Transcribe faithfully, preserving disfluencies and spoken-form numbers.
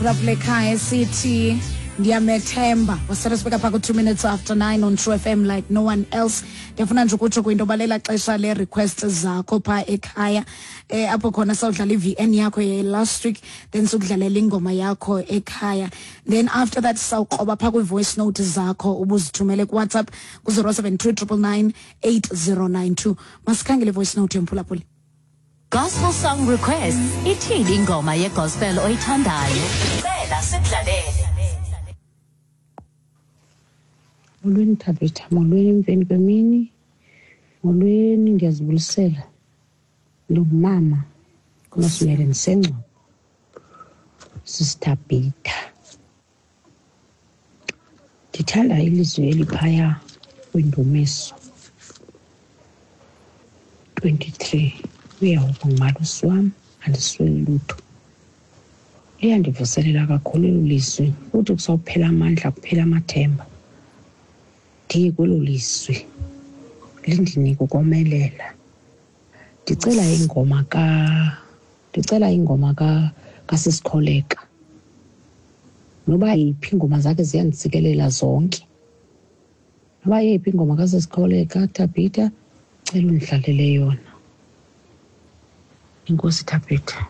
Mphulaphula ekhaya esithi "Ndiyamethemba". Wasele sibeka phaa ku-two minutes after nine on True F M like no one else. Ndiyafuna nje ukutsho kwinto yoba lela xesha le-request zakho phaa ekhaya, eh apho khona sawudlala i-V N yakho ye-last week, then sokudlalela ingoma yakho ekhaya, then after that sawukroba phaa kwii-voice note zakho ubuzithumele kuWhatsApp ku-zero seven two nine nine nine eight zero nine two. Masikhangele i-voice note yomphulaphuli. Gospel song requests. Ithini ingoma yegospel oyithandayo? Cela sikudlalele. Molweni Thabitha, molweni emveni kwemini, molweni, ndiyazibulisela. Ndingumama uNosimele, ndiseNgcobo. Sisithabhitha. Ndithanda ilizwi eliphaya kwiNdumiso twenty-three, "UYehova ngumalusi wam, andisweli lutho." Liyandivuselela kakhulu elo lizwi. Kuthi kusawuphela amandla, kuphela amathemba, ndiye kwelo lizwi lindinike ukomelela. Ndicela ingoma ka ndicela ingoma ka kaSisikholeka. Noba yiphi, iingoma zakhe ziyandisikelela zonke. Noba yeyiphi ingoma kaSisikholeka, Thabitha, cela undidlalele yona. Enkosi, Thabitha.